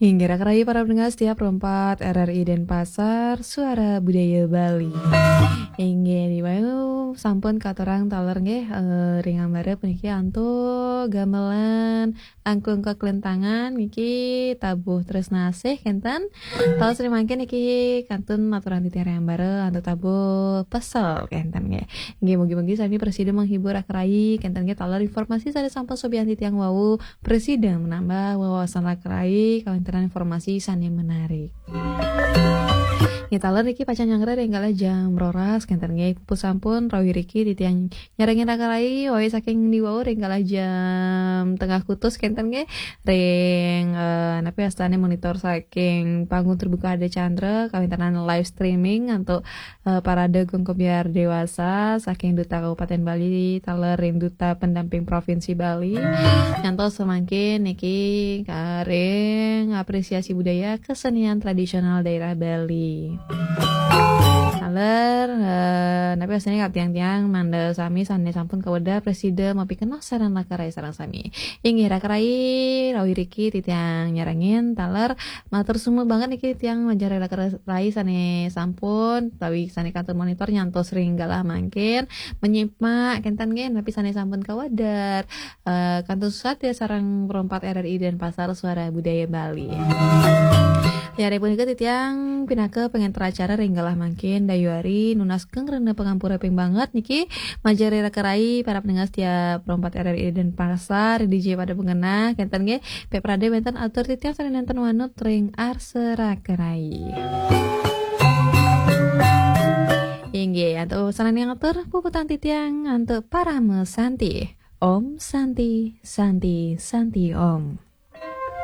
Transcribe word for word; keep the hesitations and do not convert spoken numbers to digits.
Inggih, raka rayi para pendengar setia Pro empat R R I Denpasar, Suara Budaya Bali. Inggih, diwayu sampun katurang taler nggih, eh, ring ambara puniki antuk gamelan angklung kaklentangan niki tabuh tresnasih kenten. Taler sri mangkin niki kantun aturang titiang ring ambara antuk tabuh pesel kenten nggih. Inggih, mugi-mugi sami prasida menghibur raka rayi kenten nggih taler informasi sane sampun sobian titiang wau prasida menambah wawasan raka rayi kawenten informasi sane menarik. Nggih, taler niki pacang nyanggra ring kala jam roras kenten nggih. Puput sampun rawi riki titiang nyarengin raka rayi, wau saking ndi wau ring kala jam tengah kutus kenten nggih. Ring, eh, napi wastane monitor saking panggung terbuka Ardha Candra, kawenten live streaming antuk, eh, Parade Gong Kebyar Dewasa saking Duta Kabupaten Bali, taler ring Duta Pendamping Provinsi Bali. Nyantos samangkin niki, eh, ring apresiasi budaya kesenian tradisional daerah Bali. Taler, eh, napi wastane ka tiang-tiang mangda sami sane sampun kawedar prasida mapikenoh sareng raka rayi sareng sami. Inggih raka rayi, rawi riki titiang nyarengin taler matur suksma banget niki titiang majeng ring raka rayi sane sampun tawi sane kantun monitor nyantos ring galah mangkin menyimak kenten nggih napi sane sampun kawedar. Eh, kantun suksma ya sareng Pro empat R R I Denpasar, Suara Budaya Bali. Ya, ring punika titiang pinaka pangenter acara ring galah mangkin dayuari nunas geng rena pangampura ping banget niki majeng ring raka rayi para pendengar setia Pro empat R R I Denpasar, D J pada pengenah kenten nggih. Pek prade wenten atur titiang sane nenten wanut ring arsa raka rayi. Inggih, antuk sane ngatur puputang titiang antuk parama santi. Om Santi, Santi, Santi Om.